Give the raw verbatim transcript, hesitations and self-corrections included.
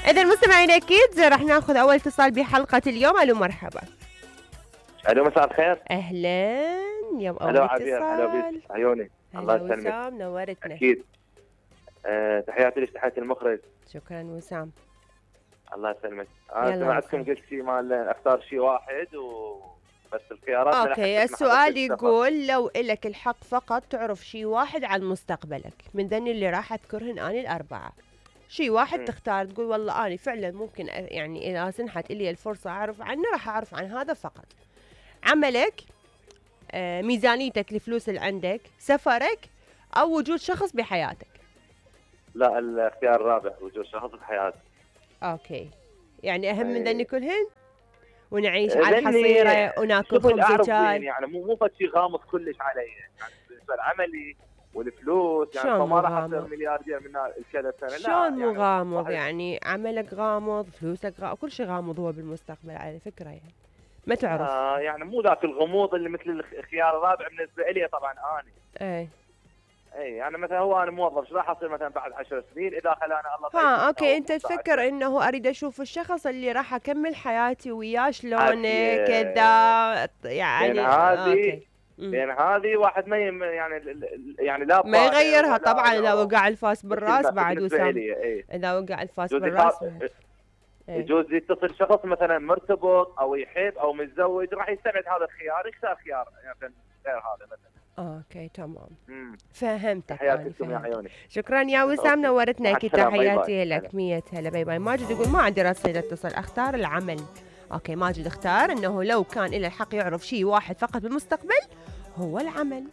إذا مستمعين أكيد راح ناخذ أول اتصال بحلقة اليوم. ألو مرحبا. الو مساء الخير. أهلا يوم أول الو اتصال. عبير، هلا بيك عيوني. الله هلا يسلمك. وسام نورتنا. أكيد. أه تحياتي لك، تحياتي المخرج. شكرا وسام. الله يسلمك. أنا سمعتكم قلت شيء مال أختار شيء واحد و بس الخيارات. اوكي السؤال يقول لو إلك الحق فقط تعرف شيء واحد عن مستقبلك من ذني اللي راح اذكرهن اني الاربعه، شيء واحد م. تختار تقول والله اني فعلا ممكن يعني اذا سنحت لي الفرصه اعرف عنه راح اعرف عن هذا فقط. عملك، آه، ميزانيتك، الفلوس اللي عندك، سفرك، او وجود شخص بحياتك. لا الاختيار الرابع، وجود شخص بحياتك. اوكي يعني اهم من ذني أي. كلهن ونعيش على الحصيره وناكل خبز وشاي. يعني مو مو فد شيء غامض كلش علي، يعني بالنسبه لعملي والفلوس يعني فما راح اصير ملياردير من كذا سنه. لا شلون مو يعني غامض؟ يعني عملك غامض، فلوسك غامض، كل شيء غامض هو بالمستقبل على فكره، يعني ما تعرف. آه يعني مو ذاك الغموض اللي مثل الخيار الرابع بالنسبه لي طبعا اني. اي اي يعني مثلا هو انا موظف، ايش راح اصير مثلا بعد عشر سنين اذا خلانا الله طيب. ها اوكي انت تفكر انه اريد اشوف الشخص اللي راح اكمل حياتي وياه شلونه كذا يعني. بين هذه بين هذه واحد ما يم يعني يعني لا ما يغيرها طبعا. اذا وقع الفاس بالراس بعد وسام. ايه. اذا وقع الفاس بالراس يجوز يتصل شخص مثلا مرتبط او يحب او متزوج راح يستبعد هذا الخيار، يختار خيار يعني غير هذا مثلا. اوكي تمام. مم. فهمتك. تحياتكم يا عيوني. شكرا يا وسام نورتنا. اكيد تحياتي لك. مية هلا باي باي. ماجد يقول ما عندي رصيد اتصل، اختار العمل. اوكي ماجد اختار انه لو كان له الحق يعرف شيء واحد فقط بالمستقبل هو العمل.